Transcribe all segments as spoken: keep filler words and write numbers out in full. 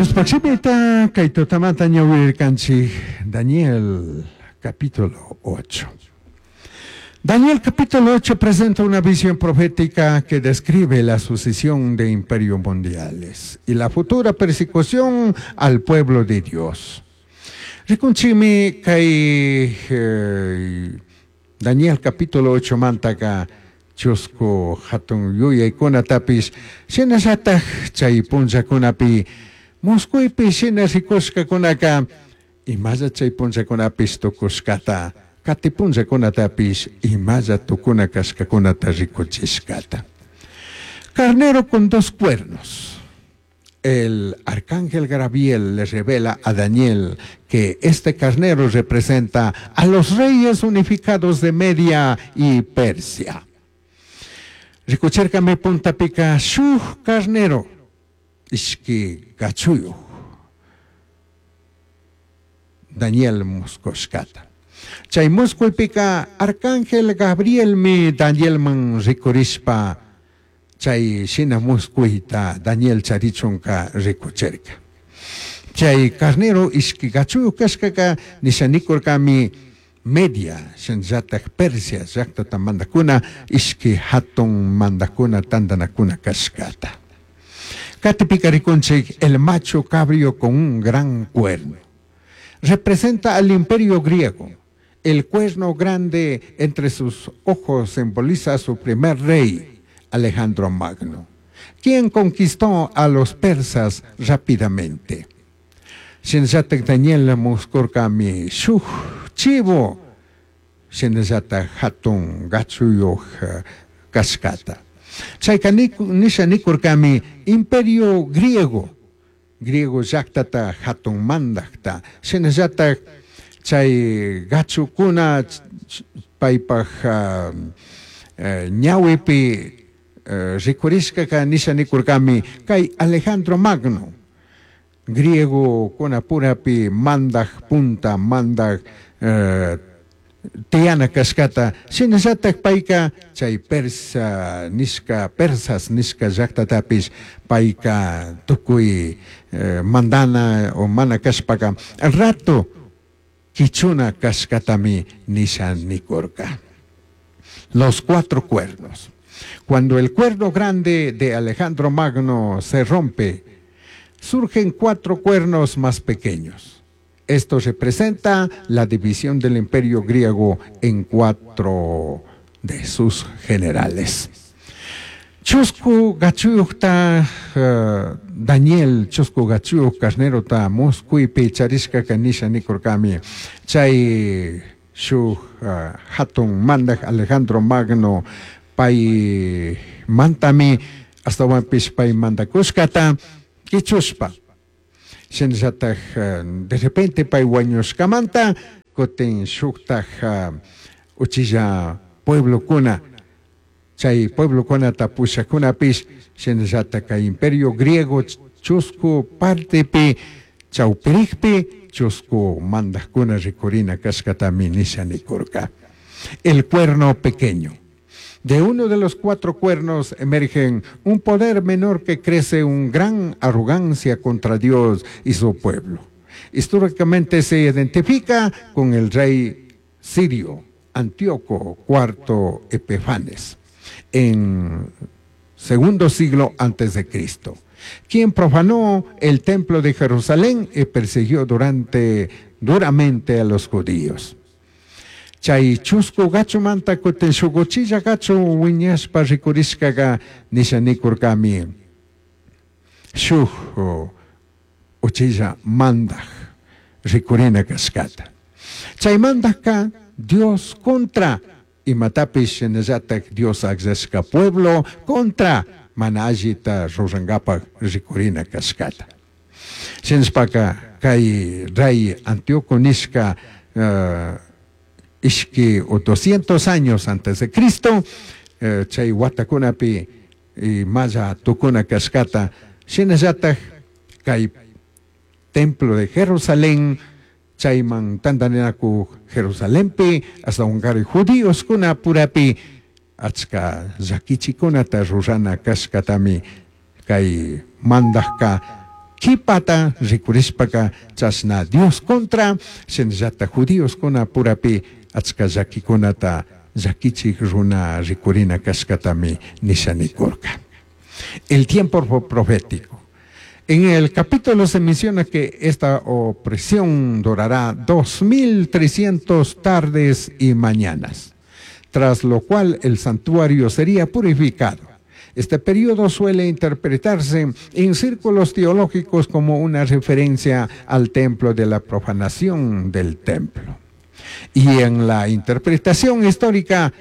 Diospaj shimita kay tutamanta ñawirkanchik Daniel capítulo ocho. Daniel capítulo ocho presenta una visión profética que describe la sucesión de imperios mundiales y la futura persecución al pueblo de Dios. Rikunchikmi kay eh, Daniel capítulo ocho mantaka chusku hatun yuyaykunatapish shinallataj chay punllakunapi musquypi shina rikushkakunaka imalla chay punllakunapish tukushkata kati punllakunatapish imalla tukuna kashkakunata rikuchishkata. Carnero con dos cuernos. El arcángel Gabriel le revela a Daniel que este carnero representa a los reyes unificados de Media y Persia. Rikuchirkami puntapika shuj carnero ishki gachuyuj Daniel muskushkata. Chay muskuypika arcángel Gabrielmi Danielman rikurishpa chay shina muskuyta Daniel charichunka rikuchirka. Chay carnero ishki gachuyuj kashkaka nisha nikurkami Media shinallataj Persia llaktata mandakuna ishki hatun mandakuna tantanakuna kashkata. Katipika rikunchik el macho cabrio con un gran cuerno. Representa al imperio griego. El cuerno grande entre sus ojos simboliza a su primer rey, Alejandro Magno, quien conquistó a los persas rápidamente. Shinallataj Daniel muskurkami shuj chivo shinallataj hatun gachuyuj kashkata. Chayka nisha nikurkami imperio griego, griego llaktata hatun mandakta, shinallataj chay gachukuna paypaj uh, ñawipi uh, rikurishkaka nisha nikurkami kay Alejandro Magno, griego kunapurapi mandak punta mandak uh, tiyana kashkata, shinallataj payka chay persa nishka persas nishka llaktatapish payka tukuy eh, mandana o mana kashpaka rato kichuna kashkatami nisha nikurka. Los cuatro cuernos. Cuando el cuerno grande de Alejandro Magno se rompe, surgen cuatro cuernos más pequeños. Esto representa la división del imperio griego en cuatro de sus generales. Chusku gachuyukta uh, Daniel chusku gachuyuk carnerota muskuypi charishkaka nisha nikurkami chay shuk uh, hatun mandak Alejandro Magno pay mantami astawanpish pay mandakushkata kichushpa shinallataj uh, de repente pay wañushkamanta kutin shuktaj uh, uchilla pueblokuna chay pueblokunata pushakunapish shinallataj kay imperio griego chusku partepi chawpirikpi chusku mandakuna rikurina kashkatami nisha nikurka. El cuerno pequeño. De uno de los cuatro cuernos emergen un poder menor que crece un gran arrogancia contra Dios y su pueblo. Históricamente se identifica con el rey sirio Antíoco cuarto Epifanes en segundo siglo antes de Cristo, quien profanó el templo de Jerusalén y persiguió durante, duramente a los judíos. Chay chusku gachumanta kutin shuk uchilla gachu wiñashpa rikurishkaga nisha nikurkami shuk uchilla mandaj rikurina kashkata. Chay mandajka Dios contra imatapish shinallataj Dios akllashka pueblo contra mana allita rurankapak rikurina kashkata. Shinashpaka kay rey Antíoco nishka uh, ishki o doscientos años antes de Cristo, eh, chay watakunapi imalla tukuna kashkata shinallataj kay templo de Jerusalén chayman tantaninakuj Jerusalenpi astawankari judíoskuna purapi achka llakichikunata rurana kashkatami kay mandajka Kipata rikurishpaka chashna Dios contra shinallata judíoskuna purapi achka llakikunata llakichik runa rikurina kashkatami nisha nikurka. El tiempo profético. En el capítulo se menciona que esta opresión durará dos mil trescientos tardes y mañanas, tras lo cual el santuario sería purificado. Este periodo suele interpretarse en círculos teológicos como una referencia al templo de la profanación del templo. Y en la interpretación histórica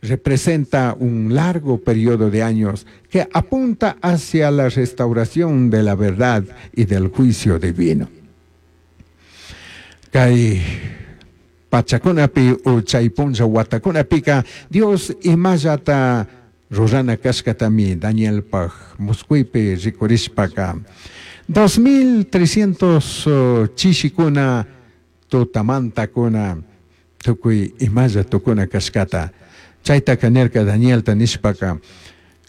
representa un largo periodo de años que apunta hacia la restauración de la verdad y del juicio divino. Kay pachakunapi o chay punlla watakunapika Dios imallata rurana kashkatami Danielpaj musquypi rikurishpaka dos mil trescientos chishikuna tutamantakuna tukuy imalla tukuna kashkata. Chaytaka nirka Danielta nishpaka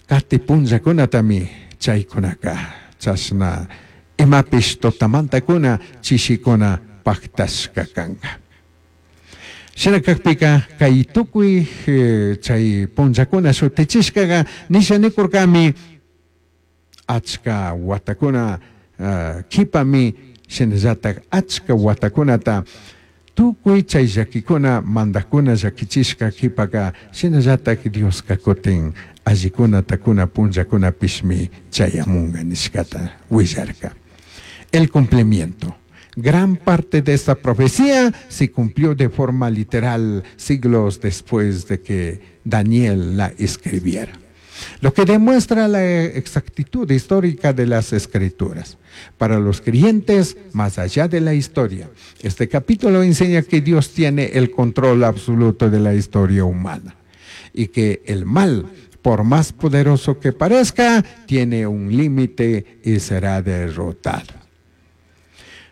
kati punllakunatami chaykunaka chashna imapish tutamantakuna chishikuna paktashka kanka. Shina kakpika kay tukuy chay punllakuna shutichishkaga nisha nikurkami achka watakuna kipami shinallatak achka watakunata tukuy chay llakikuna mandakuna llakichishka kipaka shinallatak Dioska kutin allikunata kuna punllakunapishmi chayamunga nishkata willarka. El cumplimiento. Gran parte de esta profecía se cumplió de forma literal siglos después de que Daniel la escribiera, lo que demuestra la exactitud histórica de las escrituras. Para los creyentes, más allá de la historia, este capítulo enseña que Dios tiene el control absoluto de la historia humana y que el mal, por más poderoso que parezca, tiene un límite y será derrotado.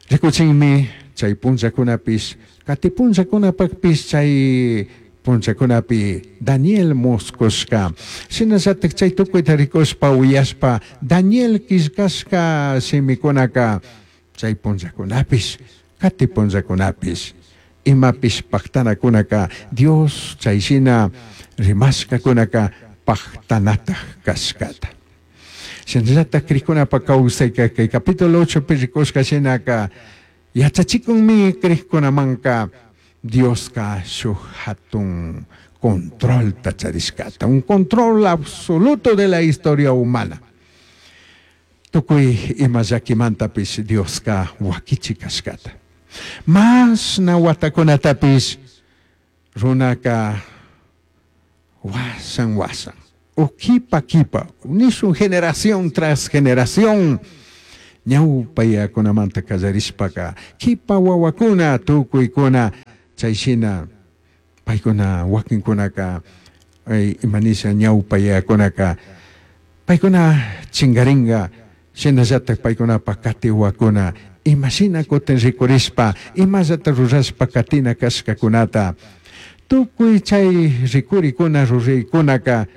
Rikuchinmi chay punllakunapish, kati punllakunapakpish chay punllakunapi Daniel muskushka. Shinallatak chay tukuyta rikushpa uyashpa Daniel killkashka shimikunaka chay punllakunapish, kati punllakunapish, imapish paktanakunaka Dios chay shina rimashkakunaka paktanataj kashkata. Shinallatak krikunapa kawsayka kay capítulo ocho pi rikushka shinaka yachachikunmi krikunamanka Dioska shuk hatun control tacharishkata, un control absoluto de la historia humana. Tukuy ima llakimantapis Dioska wakichi kashkata. Mashna watakunatapis runaka wasan wasan, o kipa kipa, nishun generación tras generación, ñawpayakunamanta kallarishpaka kipa wawakuna tukuykuna chayshina paykuna wakinkunaka imanisha ñawpayakunaka paykuna chingaringa shinallatak paykunapa katiwakuna imashina kutin rikurishpa imallata rurashpa katina kashkakunata tukuy chay rikurikuna ruraykunaka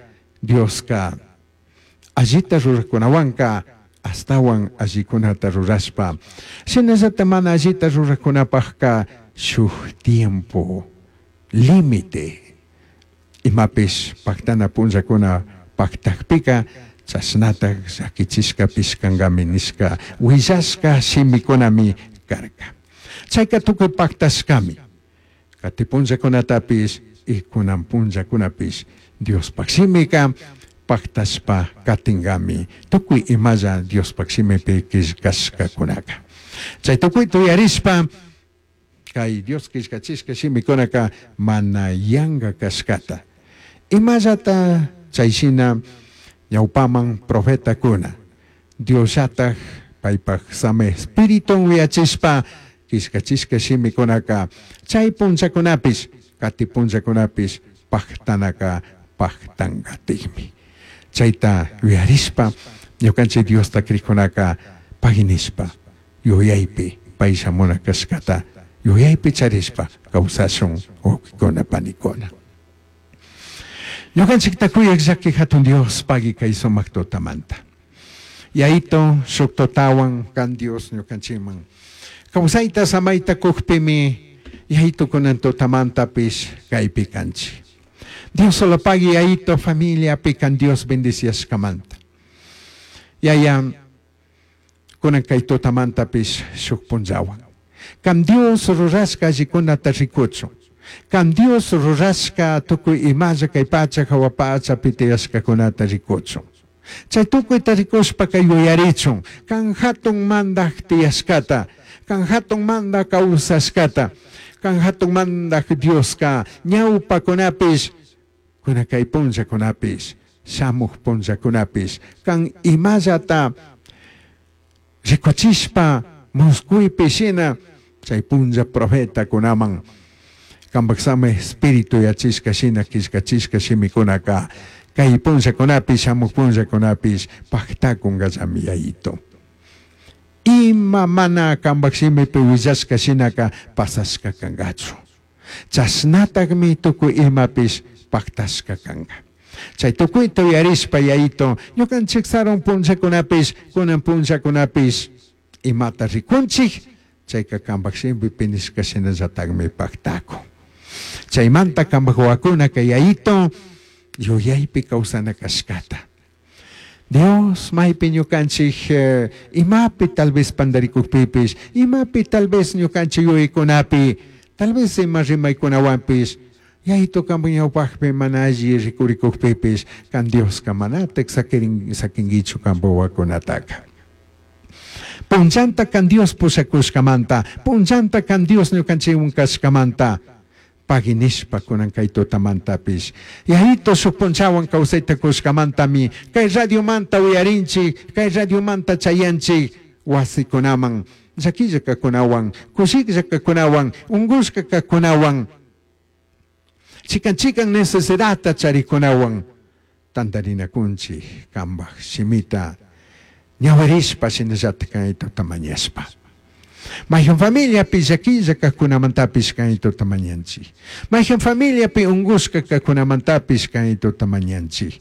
Dioska allita rurakunawanka astawan allikunata rurashpa shinallata mana allita rurakunapajka shuk tiempo límite imapish paktana punllakuna paktakpika chashnatak llakichishkapish kankami nishka willashka shimikunami karka. Chayka tukuy paktashkami kati punllakunatapish y kunan punllakunapish Diospaj shimika paktashpa katingami tukuy imalla Diospaj shimipi killkashkakunaka. Chay tukuy tuyarishpa kay Dios killkachishka shimikunaka mana yanka kashkata. Imallata chay shina ñawpaman profetakuna Diosllatak paypaj same espiritun uyachishpa killkachishka shimikunaka chay punllakunapish kati punllakunapish paktanaka paktankatikmi. Chayta yuyarishpa ñukanchik Diosta krikunaka paginishpa yuyaypi pay shamuna kashkata yuyaypi charishpa kawsashun wawqikuna panikuna. Ñukanchikta kuyak llaki hatun Dios pagi kay sumak tutamanta. Yaito shuk tutawan kan Dios ñukanchikman. Kawsayta samayta kukpimi Yaito kunan tutamantapish kaypi kanchik. Dios solo pagui Yaito familiapi kan Dios bendiciashkamanta. Yaya kunan kay tutamantapish shuk punllawan. Kan Dios rurashka allikunata rikuchun. Kan Dios rurashka tukuy imalla kay pacha hawa pachapi tiyashkakunata rikuchun. Chay tukuyta rikushpaka yuyarichun. Kan hatun mandaj tiyashkata, kan hatun mandaj kawsashkata, kan hatun mandaj Dioska ñawpakunapish, kuna kay punllakunapish, shamuj punllakunapish, kan imallata rikuchishpa muskuypi shina chay punlla profetakunaman kanpak sama espíritu yachishka shina killkachishka shimikunaka kay punllakunapish shamuj punllakunapish paktakunkallami Yayito. Ima mana kanpak shimipi willashka shinaka pasashka kankachu. Chashnatakmi tukuy imapish paktashka kanka. Chay tukuyta uyarishpa Yayito, ñukanchik sarun punllakunapish, kunan punllakunapish imata rikunchik, chayka kanpak shimipi nishka shinallatakmi paktakun. Chaymanta kanpak wawakunaka Yayito yuyaypi kawsana kashkata. Dios maypi ñukanchik eh, imapi tal vez pandarikukpipish, imapi tal vez ñukanchik yuyaykunapi, tal vez ima rimaykunawanpish, Yayito kanpak ñawpakpi mana alli rikurikukpipish, kan Dioska manatak sakirin, sakinkichu kanpak wawakunataka. Punllanta kan Dios pushakushkamanta, punllanta kan Dios ñukanchikwan kashkamanta, pagui nishpa kunan kay tutamantapish. Yayito shuk punllawan kawsayta kushkamantami, kay radiomanta uyarinchik, kay radiomanta chayanchik, wasikunaman, llakilla kakunawan, kushiklla kakunawan, unkushka kakunawan, chikan chikan necesidadta charikunawan, tantarinakunchik kanpak shimita ñawirishpa shinallatak kay tuta mañashpa. Mayhan familiapi llakilla kajkunamantapish kay tuta mañanchik. Mayhan familiapi unkushka kajkunamantapish kay tuta mañanchik.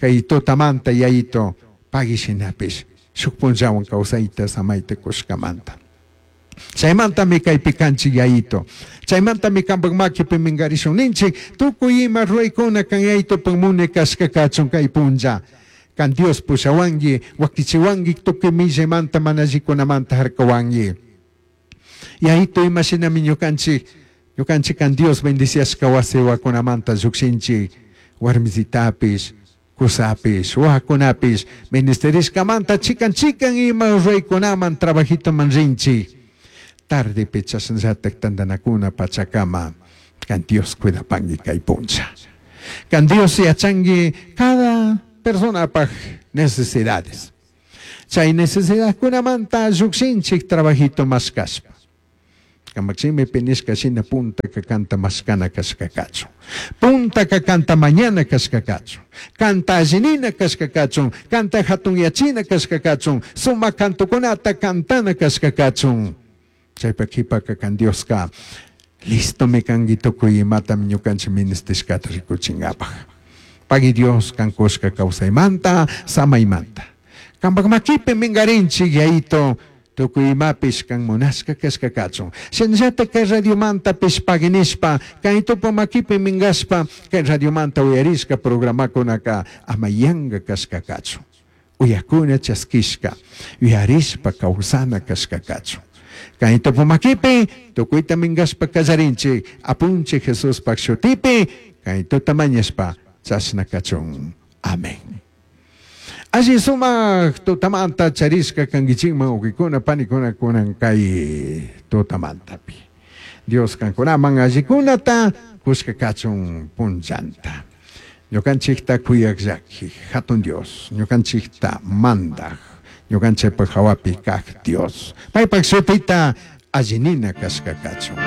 Kay tutamanta Yayito pagui shinapish shuk punllawan kawsayta samayta kushkamanta. Chaymantami kaypi kanchik Yayito. Chaymantami kanpak makipi minkarishun ninchik tukuy ima ruraykuna kan Yayitopak munay kashka kachun kay punlla. Kan Dios pushawanki, wakichiwanki, tukuy millaymanta mana allikunamanta harkawanki. Yayito ima shinami ñukanchik, ñukanchik kan Dios bendiciashka wasi wawakunamanta llukshinchik, warmisitapish, kusapish, wawakunapish, ministerishkamanta chikan chikan ima ruraykunaman trabajitoman rinchik. Tardepi chashnallatak tantanakuna pachakama, kan Dios cuidapanki kay punlla. Kan Dios yachanki cada personapaj necesidades. Chay necesidadkunamanta llukshinchik trabajito mashkashpa. Kanpak shimipi nishka shina punta kanta mashkana kashka kachun. Punta kanta mañana kashka kachun. Kanta allinina kashka kachun. Kanta hatunyachina kashka kachun. Sumak kantukunata kantana kashka kachun. Chaypa kipaka kan Dioska listomi kanki tukuy imatami ñukanchik ministishkata rikuchinkapaj. Pagui Dios kan kushka kawsaymanta, samaymanta. Kanpak makipi minkarinchik Yayito tukuy imapish kan munashka kashka kachun. Shinallatak kay radiomantapish pagui nishpa, kay tupu makipi minkashpa, kay radiomanta uyarishka programakunaka ama yanka kashka kachun. Uyakuna chaskishka, uyarishpa kawsana kashka kachun. Kay tupu makipi, tukuyta minkashpa kallarinchik, apunchik Jesuspak shutipi, kay tuta mañashpa, chashna kachun. Amén. Alli sumak tutamanta charishka kankichikman wawqikuna panikuna kunan kay tutamantapi. Dios kankunaman allikunata kushka kachun punllanta. Ñukanchikta kuyak llaki, hatun Dios, ñukanchikta mandaj, ñukanchikpak hawapi kak Dios. Paypak shutita allinina kashka kachun.